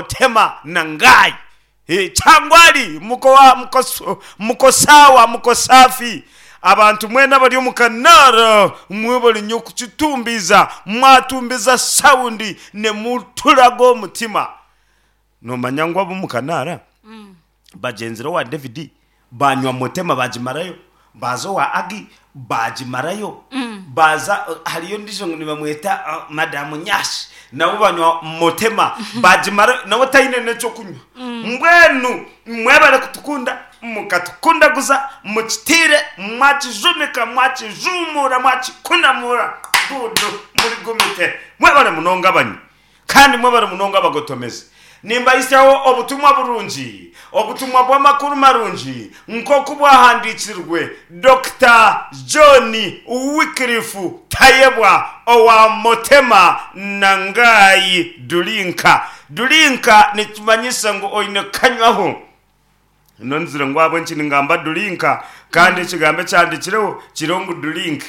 Motema na ngai Kyangwali muko muko sawa muko safi Abantu mwena abari omu kanaara mwebare nyo kukitumbiiza mwatumbiza sound nemuturaga omutima Nomanya ngu ab'omu kanaara bagyenzire owa David Baanywa Motema baagimarayo, baaza owa Agi baagimarayo, baaza hariyo ondiijo ngu nibamweta Madamu Nyash nabo banywa Motema baagimarayo nawe taine n'eky'okunywa. Mbwenu mwebare kutukunda mukatukundaguza mukitiire mwakijumika mwakijuumuura mwakikunamuura good muri gumite mwebare munonga abanywi. Kandi mwebare munonga abagotomezi. Nimbahisyaho obutumwa burungi, obutumwa bw'amakuru marungi nk'oku bwahandiikirwe Dokita John Wycliffe Tayebwa owa Motema na Ngai Durinka. Durinka nikimanyisa ngu oine kukanywaho. Nonzire ngu ahabw'enki ningamba durinka kandi ekigambo ekihandiikireho kiriho ngu drink.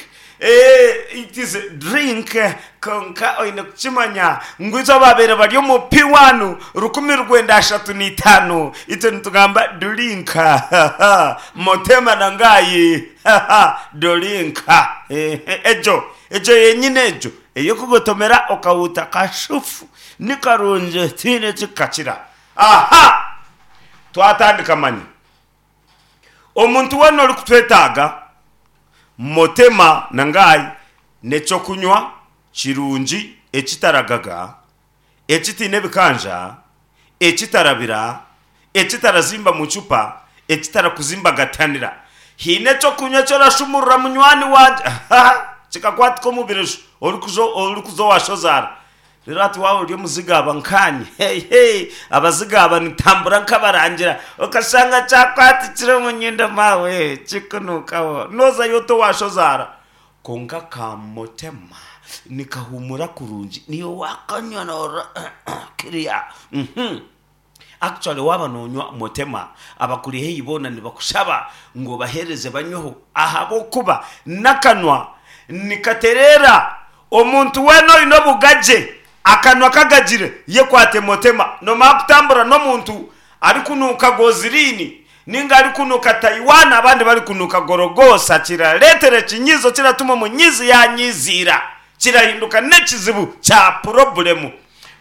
Eeh it is drink kwonka oine kukimanya ngu itwe abaabaire bari omu P1 1935 itwe nitugamba durinka Motema na Ngai durinka egyo egyo yenyine egyo ey'okugotomera okahuuta kashufu ni karungi tihaine ekikukakira. Aha! Twatandika manya. Omuntu weena orikutwetaaga, Motema na Ngai n'eky'okunywa kirungi ekitaragaga, ekitaine bikanja, ekitarabira, ekitarazimba mu cupa, ekitarakuzimbagattanira. Haine eky'okunywa eki orashumurura munywani wangye, aha, kikakwatika omu bireju orikuza orikuza owa shozaara. Reero hati waaba ori omuzigaaba nkaanye, hey, hey, abazigaaba nitambura nk'abarangira, okashanga kyakwatikire omu nyindo maawe, kikunuukaho, noozayo ota owa shozaara. Kwonka ka motema nikahuumura kurungi, niiwe waakanywa noorora kiriya. Actually waaba noonywa motema, abakuri haihi boona nibakushaba ngu obaheereze banyweho ahabw'okuba n'akanwa nikatereera. Omuntu weena oine obugagye, akanwa kagagire, yekwate motema. Noomanya kutambura n'omuntu arikunuuka goziriini ninga arikunuuka Taiwan abandi barikunuuka Gorogosa kirareetera ekinyiizo kiratuma omunyiizi yaanyiiziira kirahinduka n'ekizibu kya purobulemu.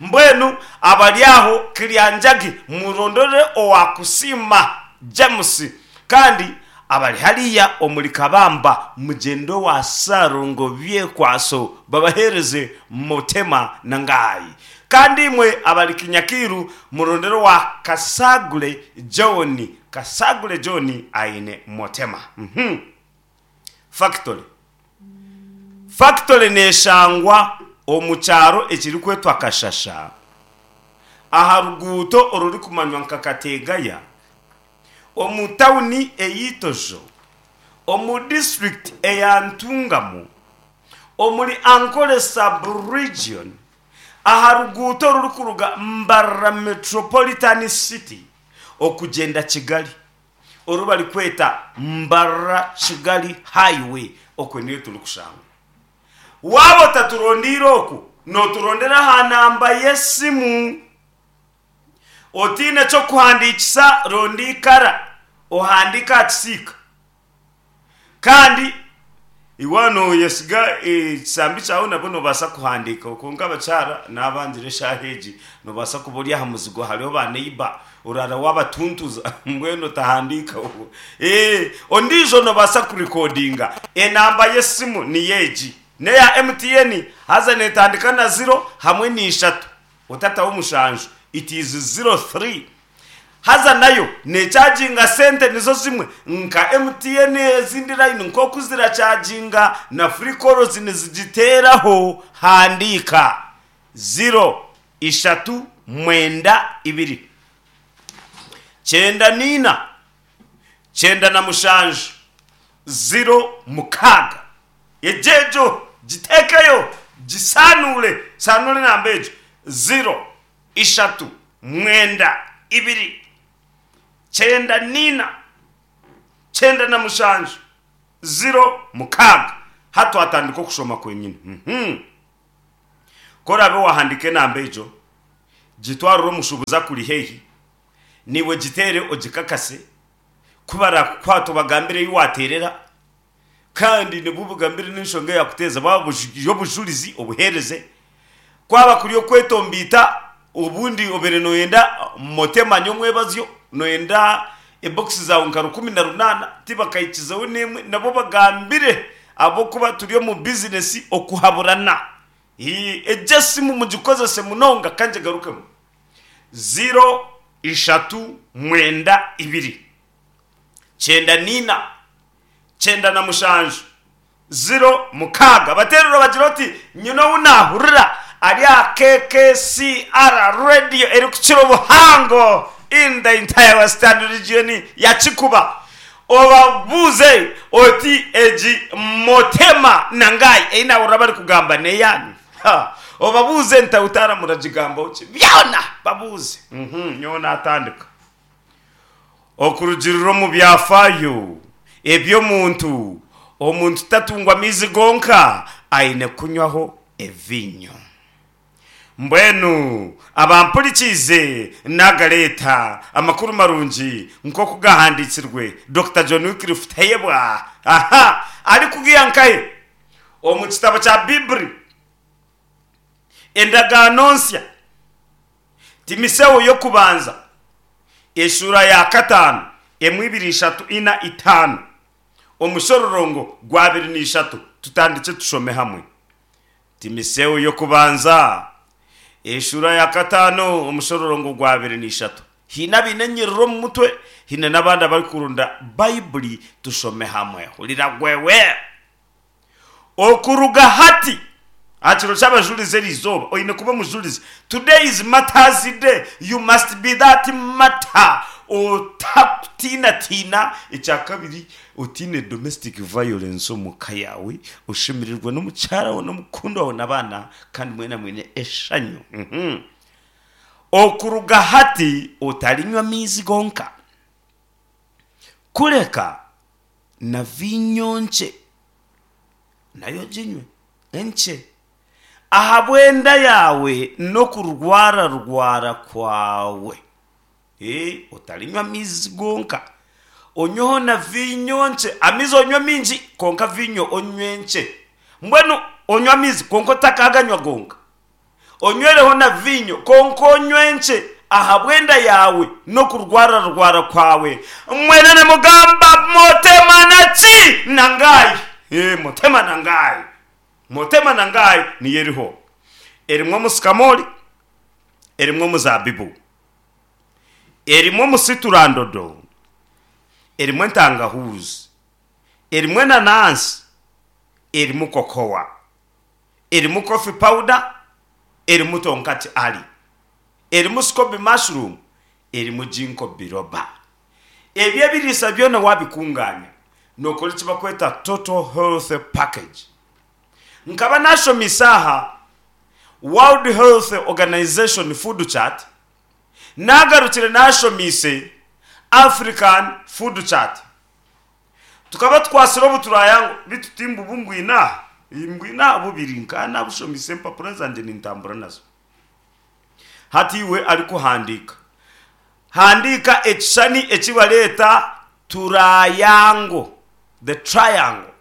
Mbwenu abari aho Kiryanjagi murondore owa Kusiima James kandi abari hariya omuri Kabamba mugyende owa Ssalongo Byekwaso babahereze Motema na Ngai. Kandi imwe abari Kinyakiiru murondere owa Kasagure John, Kasagure John aine Motema. Factory. Fakitore neeshangwa omu kyaro ekirikwetwa Kashasha aha ruguuto orurikumanywa nka Kategaya omu tauni ey'Itojo omu disiturikiti eya Ntungamo omuri Ankole sub-region aha ruguuto orurikuruga Mbarara Metropolitan City okugyenda Kigali. oru barikweta Mbarara Kigali Highway okwe niyo turikushangwa. Waaba otaturondeire oku, nooturondera aha namba y'esimu. Otaine ky'okuhandiikisa ronda ikara ohandiike aha kisiika. Kandi iwe nooyesiga ekisambi kyawe nabwo noobaasa kuhandiika kwonka abakyara naabangira eshaaha egi noobaasa kuba ori aha muzigo hariho ba neiba oraara waabatuntuza mbwenu otahandiika Ondiijo noobaasa kurikodinga enamba y'esimu niyo egi n'eya MTN haza neetandika na ziro hamwe na ishatu otataho mushanju it is 03. Haza nayo nechaginga sente nizo zimwe nka MTN ezindi line nkoku zirachaginga na free calls nizigiteraho handiika ziro ishatu mwenda ibiri kyenda niina 97 06 Egyo egyo giteekeyo gisaanuure saanuura enamba egyo ziro ishatu, mwenda, ibiri, 94, 97, 06. Hati twatandika okushoma kwenyine. Ku oraabe waahandiika enamba egyo, Gitwarire omushuubuzi akuri haihi, naiwe giteere ogikakase, ku baraakukwata obagambire ei waateerera, kandi nibwo obagambire n'enshonga eyaakuteeza, baaba buri obujurizi obuheereze. Kwaba kuri okwetomboita, obundi obaire nooyenda motema nyomwebazyo, nooyenda ebokisi zaawe nka 18, tibakahikizeho n'emwe, nabo obagambire ahabw'okuba turi omu bizinesi okuhaburana. Egyo esimu mugikozese munonga ka ngigarukemu, ziro ishatu mwenda ibiri, 94, 97, 06. Bateerere obagire oti, Nyine ou naahurira ari aha KKCR Radio erikukira obuhango in the entire Western Region ya Kikuba. Obabuuze oti, Egi Motema Nangai ei naahurira barikugamba n'eyaanyu? Ha! Obabuuze nti, Tautara muragigambaho ki? Byona babuuze. Nyowe naatandika. Okurugiirira omu byafaayo eby'omuntu, omuntu tatungwa maizi gonka, aine kunywaho eviinyo. Mbwenu abampurikiize naagareeta amakuru marungi nk'oku gaahandiikirwe Dokita John Wycliffe Tayebwa aha arikugiha nkahe omu kitabo kya Baiburi Endagaano Nsya, Timiseo y'okubanza eshuura ya kataano emwe ibiri ishatu ina itaano omushororongo gw'abiri n'ishatu tutandikye tushome hamwe. Timiseo y'okubanza, eshuura ya kataano, omushororongo gw'abiri n'ishatu. Haine abaine enyiriri omu mutwe, haine n'abandi abarikurunda Baibuli tushome hamwe. Hurira gwewe! Okuruga hati, aha kiro ky'abajurizi eri izooba, oine kuba omujurizi. Today is martyrs day, you must be that martyr otakutiinatiina. Ekya kabiri, Otaine domestic violence omu ka yaawe, oshemererwa n'omukyara waawe n'omukundwa waawe n'abaana kandi mwena mwine eshanyu. Okuruga hati otarinywa amaizi gonka, kureka na viinyo nkye nayo oginywe enkye, ahabw'enda yaawe n'okurwararwara kwawe. Otarinywa amaizi gonka, onyweho na viinyo nkye. Amaizi onywe maingi kwonka viinyo onywe nkye. Mbwenu onywe amaizi kwonka otakaganywa gonka. Onywereho na viinyo kwonka onywe nkye ahabw'enda yaawe n'okurwararwara kwawe. Mwena nimugamba motema na ki? Na ngai. Motema na ngai. Motema na ngai niyo eriho. Erimu omusikamoori, erimu omuzaabibu. Erimu omusiturandodo, erimu entangahuuzi, erimu enanansi, erimu kokowa, erimu coffee powder, erimu tonkati ali, erimu scoby mushroom, erimu ginkgo biloba. Ebyo ebiriisa byona waabikunganya nookora eki barikweta total health package. Nkaba naashomeise aha World Health Organization Food Chart, naagarukire naashomeise African Food Chart. Tukaba tukwatsire obuturaya ngu beitu ti mbubu mbwine aha, mbwine aha bubiri, nkaba naabushomeise empapura zangye nintambura nazo. Hati iwe arikuhandiika, handiika ekishushani eki bareeta turayango, the triangle.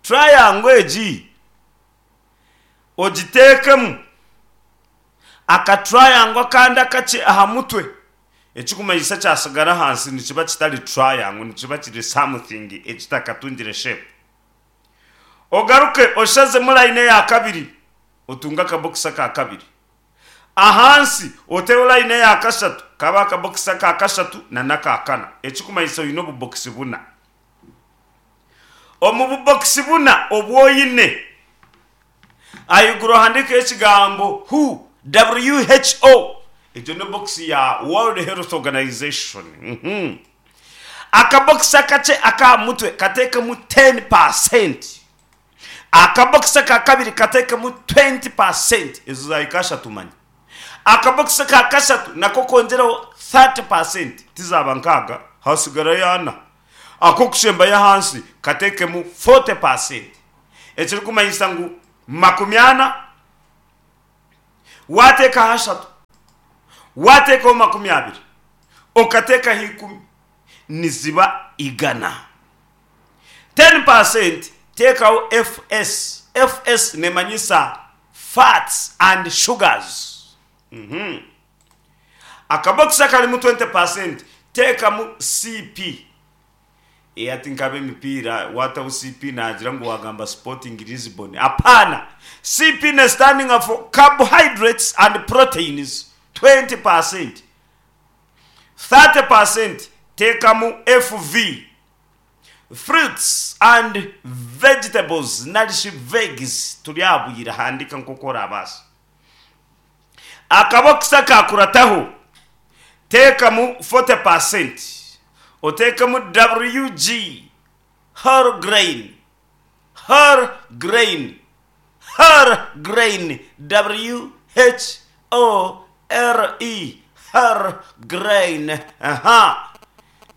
Triangle egi ogiteekemu aka triangle akandi akakye aha mutwe, ekirikumanyisa kyatsigara ahansi nikiba kitari triangle nikiba kiri something ekitakatungire shape. Ogaruke oshazemu layini eya kabiri otunge akabokisi aka kabiri. Ahansi oteho layini eya kashatu kabe akabokisi aka kashatu n'aka kana, ekirikumanyisa oine obubokisi buna. Omu bubokisi buna obu oine, ahaiguru ohandiikeho ekigambo who, WHO. Egyo n'ebokisi ya World Health Organization. Akabokisi akakye ak'aha mutwe kateekemu 10%. Akabokisi aka kabiri kateekemu 20%. Ezo zaahika ashatu manya. Akabokisi aka kashatu nako kongyereho 30%, tizaaba nkaaga, hasigarayo ana. Ak'okushembayo ahansi kateekemu 40%, ekirikumanyisa ngu 40, Waateekaho ashatu, waateekaho 20, okateekaho ikumi, niziba igana. 10% teekaho FS. FS neemanyisa fats and sugars. Akabokisi akarimu 20% teekamu CP. Eeh hati nk'ab'emipiira waataho CP naagira ngu waagamba Sporting Lisbon. Apaana! CP ne standinga for Carbohydrates and Proteins, 20%. 30% teekamu FV, Fruits and Vegetables nari shi Vegs, turi aha bwire handiika nk'oku oraabaase. Akabokisi akaakurataho teekamu 40% oteekemu WG, whole grain, whole grain, whole grain, W-H-O-L-E, whole grain, aha.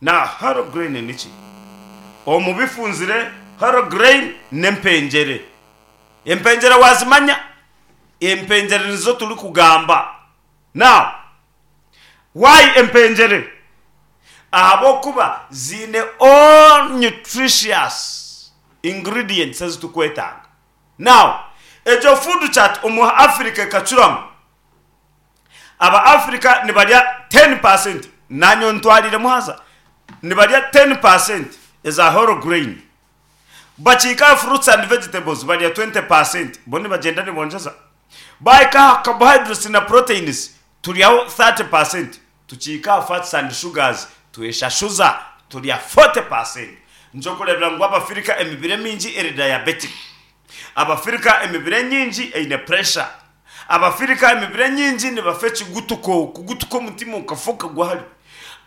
Na whole grain niki? Omu bifunzire whole grain n'empengyere. Empengyere waazimanya? Empengyere nizo turikugamba. Now, why empengyere? Ahabw'okuba ziine all nutritious ingredients ezi turikwetaaga. Now, egyo food chart omu Africa ekacuramu. Aba Africa nibarya 10%, naanye ontwariremu haza, nibarya 10% eza whole grain. Bakiika aha fruits and vegetables barya 20%, bo nibagyenda nibongyeza. Baahika aha carbohydrates na proteins turyaho 30%, tukiika aha fats and sugars tweshashuza turya 40%. Nikyo orikureebera ngu Abafirika emibiri emingi eri diabetic. Abafirika emibiri enyingi eine pressure. Abafirika emibiri enyingi nibafa ekigutuko, kugutuka omutima okafa okagwa hare.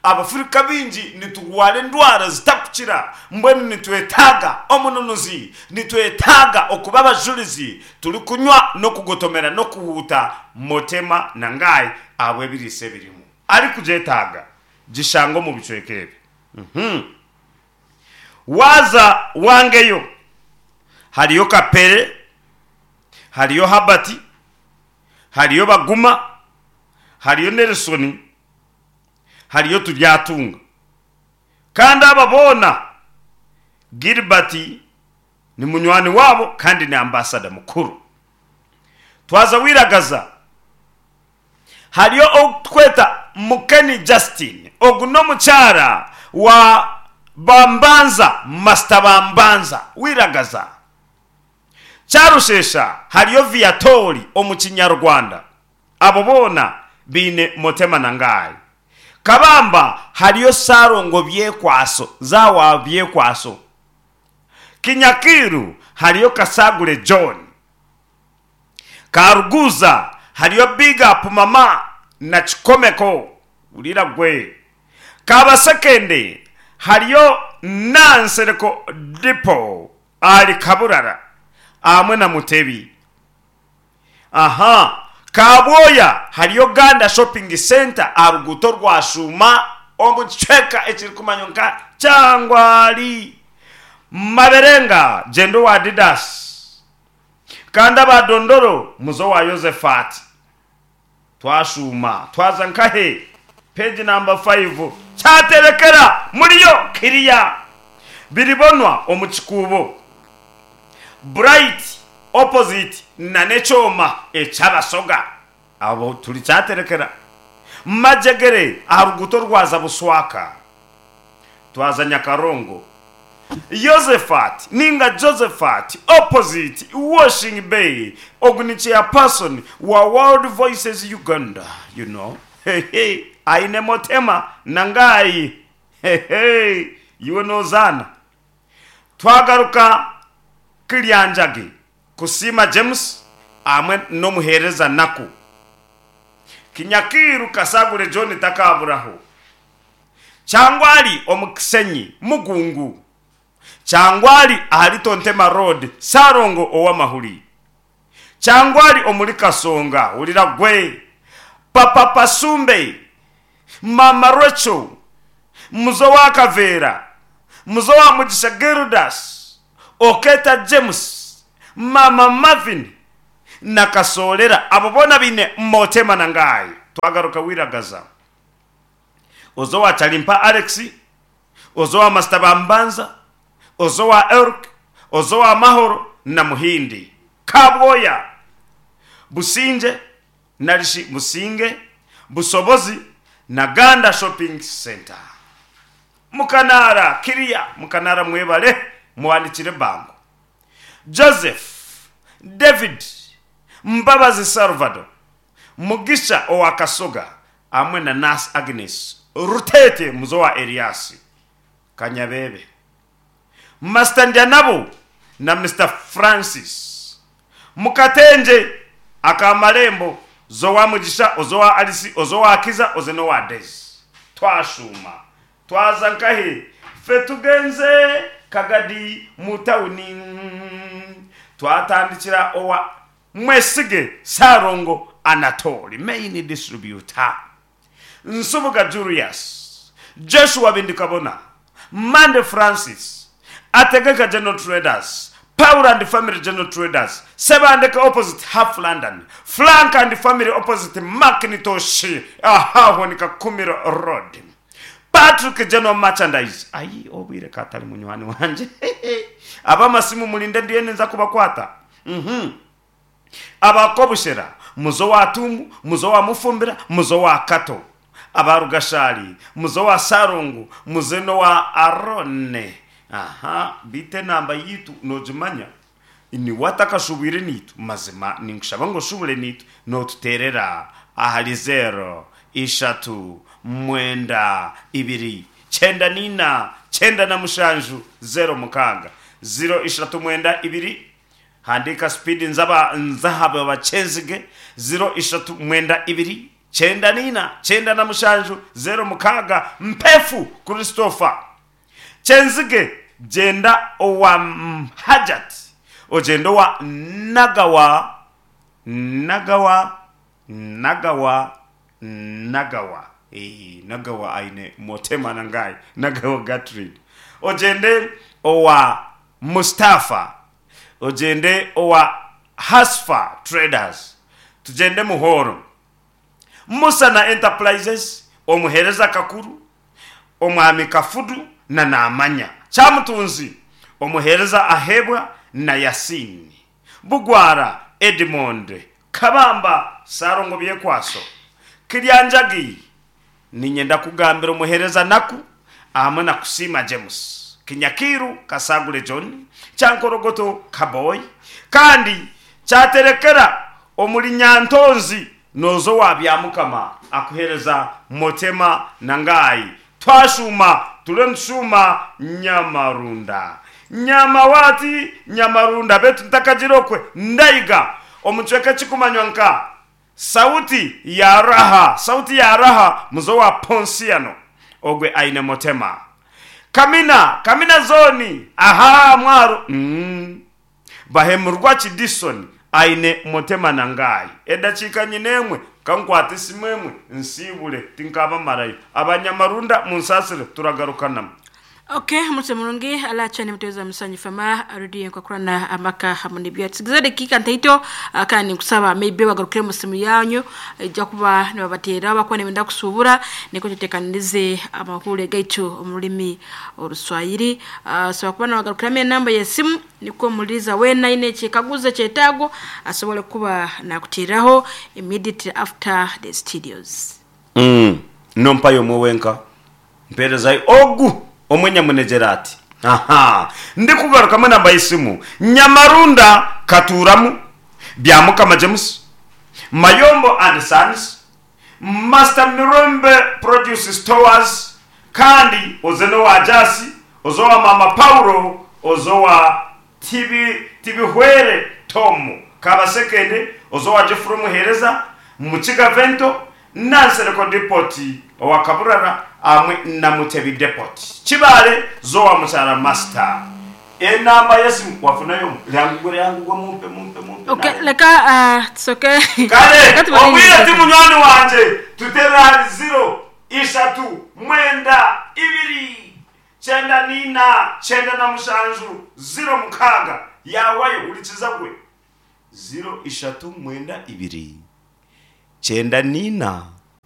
Abafirika baingi niturwara endwara zitarikukira, mbwenu nitwetaaga omununuzi, nitwetaaga okuba abajurizi turikunywa n'okugotomera n'okuhuuta Motema na Ngai ahabw'ebiriisa ebirimu. Arikugyetaaga, gishanga omu bicweka ebi. Waaza wangeyo, hariyo Kapere, hariyo Herbert, hariyo Baguma, hariyo Nelson, hariyo Turyatunga. Kandi aba boona Gilbert ni munywani waabo kandi ni ambasada mukuru. Twaza Wiragaza hariyo ou tukweta Mukeni Justine, ogu n'omukyara wa Bambanza, Master Bambanza, Wiragaza. Kyarushesha hariyo Viatori omu Kinyarwanda. Abo boona baine Motema na Ngai. Kabamba hariyo Ssalongo Byekwaso, Zawa Byekwaso. Kinyakiiru hariyo Kasagure John. Karuguza hariyo Big Up Mama na Kikomeko. Hurira gwe. Kabasekende hariyo Nansereko Depot ahari Kaburara ahamwe na Mutebi. Aha Kabwoya hariyo Ganda Shopping Centre aha ruguuto rwa Shuuma omu kicweka ekirikumanywa nka Kyangwali. Maberenga gyenda owa Didas kandi aba Dondoro muze owa Yozefati. Twashuuma twaza nkahe? Page number 5 Kyaterekera muriyo kiriya biribonwa omu kikuubo Bright opposite na n'ekyoma eky'abasoga abo turi Kyaterekera Majegere aha ruguuto rwaza Buswaka Twaza Nyakarongo Yozefati ninga Josephat opposite Washing Bay ogu ni chairperson wa World Voices Uganda you know hehe aine Motema na Ngai hehe iwe nozaana Twagaruka Kilyanjagi Kusiima James hamwe n'omuheereza Naku Kinyakiiru Kasagure John takaburaho Kyangwali omu Kisenyi, Mugungu. Kyangwali ahari Tontema Road, Ssalongo ow'amahuri. Kyangwali omuri Kasonga, hurira gwe. Papa Pasumbe, Mama Rachel, Muzo wa Kaveera, Muzo wa Mugisha Gildas, Oketa James, Mama Marvin. na Kasoolera abo boona baine Motema na Ngai. Twagaruka Wiragaza oza owa Kyalimpa Alex, oza owa Masita Bambanza, oza owa Elk, oza owa Mahoro na Muhindi. Kabwoya, Busingye nari shi Businge, Busobozi na Ganda Shopping Centre. Mukanaara, Kiria, Mukanaara mwebale muwanikire ebango. Joseph, David, Mbabazi Salvador, Mugisha owa Kasoga hamwe na Nurse Agnes Rutete muze owa Eriasi Kanyabebe, Master Ndyanabo na Mister Francis Mukatengye aka Marembo z'owa Mugisha oz'owa Alice oz'owa Kiza oze n'owa Daisy. Twashuuma Twaza nkahi? Ffe tugenze Kagadi mu tawuni. Twatandikira owa Mwesige Ssalongo Anatoli, main distributor, Nsubuga Julius, Joshua Bindikabona, Mande Francis, Ategeka General Traders, Paul and Family General Traders, Sebandeke opposite Half London, Frank and Family opposite Macintosh ahaho ni Kakumiro Road. Patrick General Merchandise, Ayi obwire ka atari munywani wangye. Ab'amasimu murinde ndiyo ninza kubakwata. Uhmm. Aba Kobushera, muze owa Tuumu, muze owa Mufumbira, muze owa Kato. Aba Rugashari, muze owa Ssalongo, muze n'owa Arone. Aha, beitu enamba yaitu noogimanya? Niwe atakashubwire naitwe? Mazima ninkushaba ngu oshubure naitwe nootuteerera ahari zeero, ishatu, mwenda, ibiri, 94, 97, 06. Ziro, ishatu, mwenda, ibiri, Handiika sipiidi nzaba nzahaba bakyenzige, ziro, ishatu, mwenda, ibiri, 94, 97, 06, Mpefu Christopher. Kyenzige gyenda owa Hajat ogyende owa Nagawa Nagawa Nagawa Nagawa eeh Nagawa aine Motema na Ngai Nagawa Gertrude ogyende owa Mustafa ogyende owa Hasfa Traders tugyende Muhoro Musa na Enterprises omuhereza Kakuru Omwami Kafudu na Naamanya Kyamutunzi, Omuheereza Aheebwa na Yasin Bugwara, Edmond Kabamba, Ssalongo Byekwaso, Kiryanjagi, Niinyenda kugambira Omuheereza Naku ahamwe na Kusiima James, Kinyakiiru Kasagure John, Kyankorogoto Kaboy kandi Kyaterekera omuri Nyantonzi Nooza owa Byamukama akuheereza Motema na Ngai twashuuma turiyo nitushuuma Nyamarunda Nyama waati Nyamarunda beitu ntakagira okwe Ndaiga omu kicweka ekikumanywa nka Sauti ya Raha Sauti ya Raha muze owa Ponsiano ogwe aine Motema Kamina Kamina zooni ahaa mwaro umm. Bahemurwa ki Dison aine motema na Ngai. Edakiika nyine emwe ka nkwate esimu emwe nsiibure tinkabamarayo. Abanyamarunda munsaasire turagarukanamu. Ok omuritwe murungi alacha nemutebeza musanyu fama radio enkubakurana amaka hamu nebyo tusigize edakiika ntaito kandi ninkusaba maybe bagarukire omu simu yanyu ija kuba nibabateera abakuba nibenda kusubura nikwo tutekanirize amahuure gaitu omu rurimi oruswahili osobola kuba nobagarukiramu enamba y'esimu Nikwo omuhuririza weena aine ekyekaguzo, ekyetaago asobole kuba nakuteeraho immediately after the studios. Umm nompayo omwe wenka mperezayo ogu omwe nyamunegyere ati ahaa ndikugarukamu enamba y'esimu Nyamarunda Katuuramu Byamukama James Mayombo and Sons Master Mirembe Produce Stores kandi oze n'owa Jasi, oze owa Maama Paulo, oze owa Tibihwere Tom Kabasekende, oze owa Geoffrey Omuheereza, Mukiga Vento, Nansereko Depot owa Kaburara hamwe na Mutebi Depot. Kibaale z'owa Mukyara Master. Enamba y'esimu wafunayo omu? Lyangugwe lyangugwe mumpe mumpe mumpe Okay, naye. leka ah, tusoke Kare leka obwire tubalindirize. ti munywani wangye tuterere ahari ziro, ishatu, mwenda, ibiri, 94, 97, 06 yaawayo hurikiza gwe. Ziro ishatu mwenda ibiri, kyenda n'ina,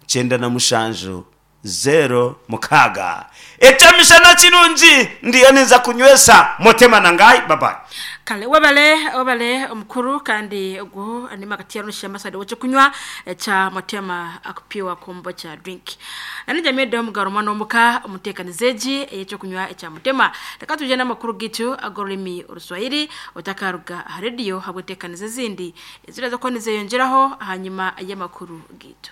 97, 06. Eky'emishana kirungi ndiyo ninza kunywesa Motema na Ngai. Bye bye. Kale webale webale omukuru kandi ogu ni makati ya masade wekyokunywa ekya Motema akupiwa kombocha drink. Nani jamii do mugaro mwana omuka omutekanize egi eyekyokunywa ekya Motema. Reka tuje n'amakuru gitu ag'orurimi Oruswahili otakaruga aha rediyo habwetekanize ezindi eziraza kuba nizeyongyeraho ahanyuma y'amakuru gitu.